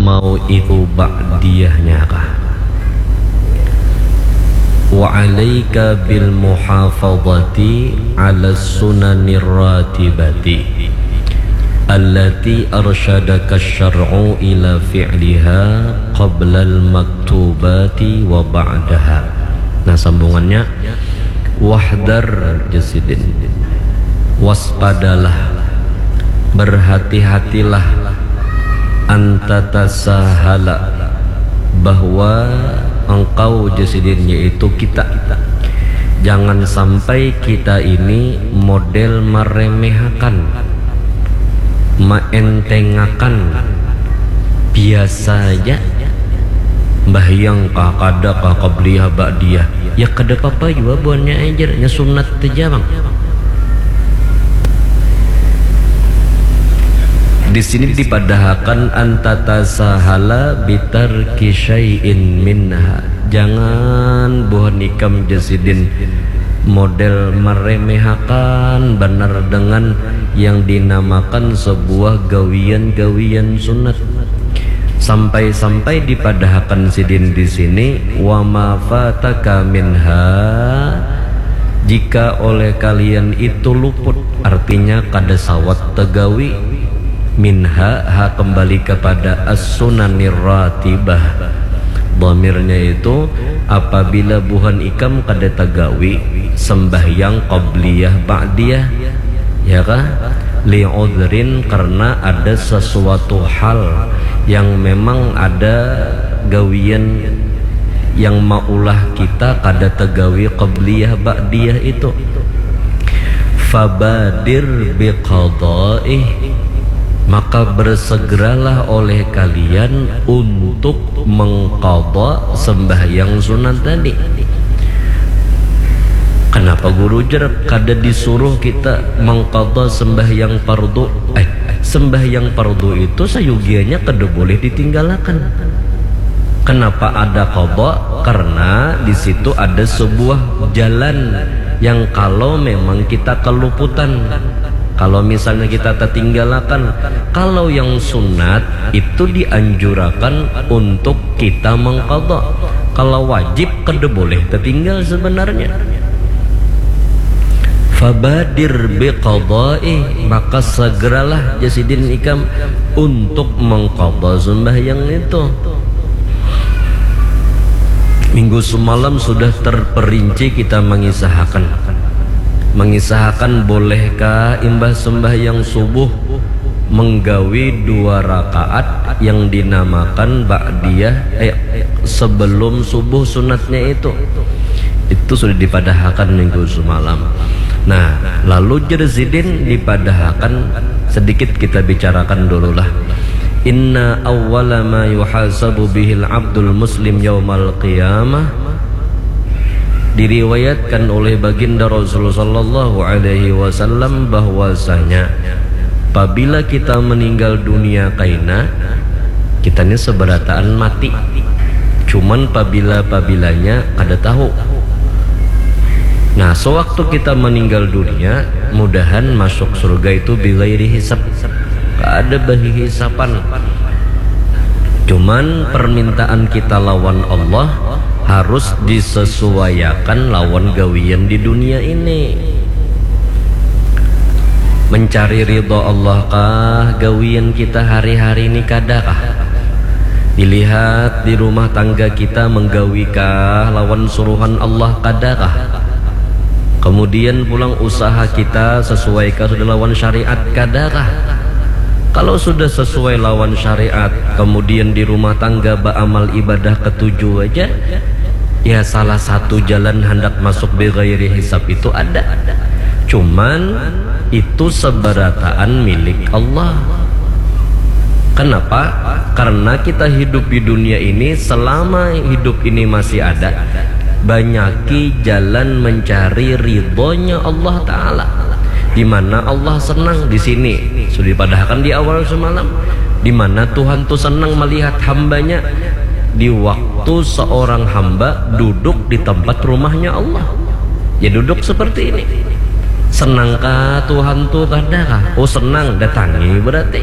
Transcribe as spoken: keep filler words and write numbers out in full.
Mau itu ba'diyahnya kah? Wa alaika bil muhafadhati ala sunanir ratibati allati arsyadaka syar'u ila fi'liha qablal maktubati wa ba'daha. Nah, sambungannya, wahdar, jar sidin, waspadalah, berhati-hatilah, antatasahala, bahwa engkau, jar sidin, yaitu kita, jangan sampai kita ini model meremehakan, meentengakan, biasa aja. Mbahyang kah, kada kah, qabliyah, ba'diyah, ya kada papa jua buhannya ajar, nya sunat aja, Bang. Di sini dipadahakan antatasahala bitarki syai'in minha. Jangan buhan ikam, jar sidin, model meremehakan banar dengan yang dinamakan sebuah gawian-gawian sunat. Sampai-sampai dipadahakan sidin di sini, wa ma fataka minha, jika oleh kalian itu luput, artinya kada sawat tegawi, minha, ha kembali kepada as-sunanir ratibah. Dhamirnya itu, apabila buhan ikam kada tegawi sembahyang qabliyah ba'diyah, ya kah? Li udhrin, karena ada sesuatu hal yang memang ada gawian yang maulah kita kada tegawi qabliyah ba'diyah itu. Fabadir biqadaih, maka bersegeralah oleh kalian untuk mengqada sembahyang sunat tadi. Kenapa guru jar kada disuruh kita mengqada sembahyang fardu? Eh, sembahyang fardu itu sayugianya kada boleh ditinggalakan. Kenapa ada qada? Karena di situ ada sebuah jalan yang kalau memang kita keluputan, kalau misalnya kita tertinggalakan, kalau yang sunat itu dianjurakan untuk kita mengqada. Kalau wajib kada boleh tertinggal sebenarnya. Fabadir biqadaih, maka segeralah, jar sidin, ikam untuk mengqada sembahyang itu. Minggu semalam sudah terperinci kita mengisahakan. Mengisahakan bolehkah imbah sembahyang subuh menggawi dua rakaat yang dinamakan ba'diyah, eh, sebelum subuh sunatnya itu. Itu sudah dipadahakan minggu semalam. Nah, lalu jar sidin dipadahakan, sedikit kita bicarakan dululah. Inna awwala ma yuhasabu bihil abdul muslim yaumal qiyamah. Diriwayatkan oleh Baginda Rasul sallallahu alaihi wasallam bahwasanya apabila kita meninggal dunia kaina, kita ini seberataan mati. Cuman pabila-pabilanya kada tahu. Nah, sewaktu kita meninggal dunia, mudahan masuk surga itu bighairi hisab. Kada bahihisapan. Cuman permintaan kita lawan Allah harus disesuaiakan lawan gawian di dunia ini. Mencari ridha Allah kah gawian kita hari-hari ini, kada kah? Dilihat di rumah tangga kita menggawi kah lawan suruhan Allah, kada kah? Kemudian pulang usaha kita sesuaikah sudah lawan syariat, kada kah? Kalau sudah sesuai lawan syariat, kemudian di rumah tangga baamal ibadah ketuju aja, ya salah satu jalan handak masuk bighairi hisab itu ada. Cuman itu seberataan milik Allah. Kenapa? Karena kita hidup di dunia ini, selama hidup ini masih ada, banyaki jalan mencari ridhonya Allah Ta'ala. Di mana Allah senang di sini. Sudah dipadahakan di awal semalam. Di mana Tuhan tuh senang melihat hambanya. Di waktu seorang hamba duduk di tempat rumahnya Allah. Ya duduk seperti ini. Senangkah Tuhan tuh, kada kah? Oh senang, datangi berarti.